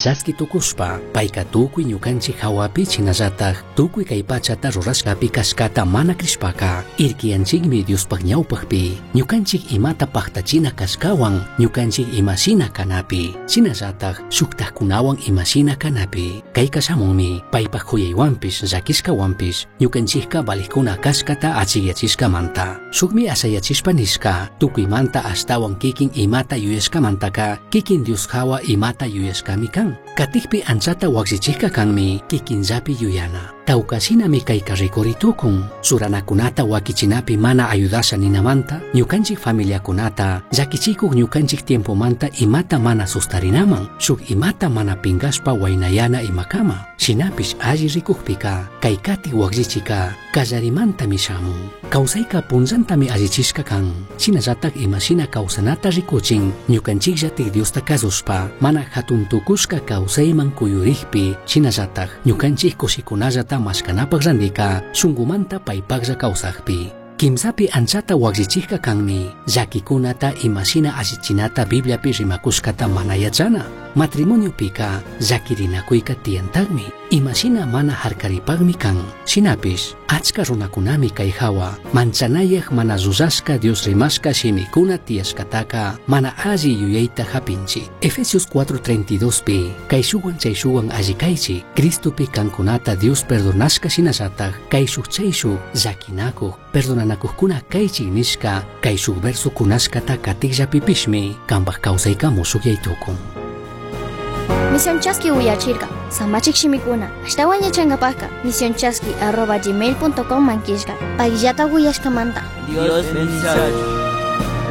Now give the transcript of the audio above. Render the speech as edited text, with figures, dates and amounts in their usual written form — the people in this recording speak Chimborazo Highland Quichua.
Chaski tukushpa payka tukuy ñukanchik hawapi shinallatak tukuy kay pachata rurashkapi kashkata mana crishpaka irkiyanchikmi Diospaj ñawpakpi ñukanchik imata paktachina kashkawan ñukanchik imashina kanapi shinallatak shuktakkunawan imashina kanapi. Kayka shamunmi paypaj kuyaywanpish llakishkawanpish ñukanchikka valijkuna kashkata achikyachishkamanta. Shukmi ashayachishpa nishka tukuymanta ashtawan kikin imata yuyashkamantaka kikin Dios hawa imata yuyashkami kan. Katikpi anchata wakllichikka kanmi kikinllapi yuyana. Tawkashinami kayka rikuri tukun. Churanakunata wakichinapi mana ayudasha ninamanta ñukanchik familiakunata llakichikuk ñukanchik tiempomanta imata mana sustarinaman shuk imata mana pinkashpa waynayana imakama. Shinapish alli rikukpika kay katik wakllichika kallarimantami shamun. Kawsayka punllantami allichishka kan. Shinallatak imashina kawsanata rikuchin ñukanchikllatik Diosta kasushpa mana hatun tukushka kawsayman kuyurikpi shinallatak ñukanchik kushikunallata mashkanapak randika shunkumanta paypaklla kawsakpi. Kimsapi anchata wakllichikka kanmi llakikunata imashina allichinata Bibliapi rimakushkata mana yachana. Matrimoniopika llakirinakuyka tiyantakmi imashina mana harkaripakmi kan. Shinapish achka runakunami kay hawa manchanayaj mana llullashka Dios rimashka shimikuna tiyashkataka mana alli yuyayta hapinchik. Efesios 4:32 pi kayshuwan chayshuwan alli kaychik Cristopi kankunata Dios perdonashka shinallatak kayshuk chayshuk llakinakuq perdonanakuqkuna kaychik nishka kayshuk verso kunashkata katikllapipishmi kanpak kawsayka mushukyay tukun. Misión Chaski uyachirka, samachik shimikuna, ashtawan yachankapakka, misionchaski@gmail.com mankishka, payllata uyashkamanta. Dios bendiciachu.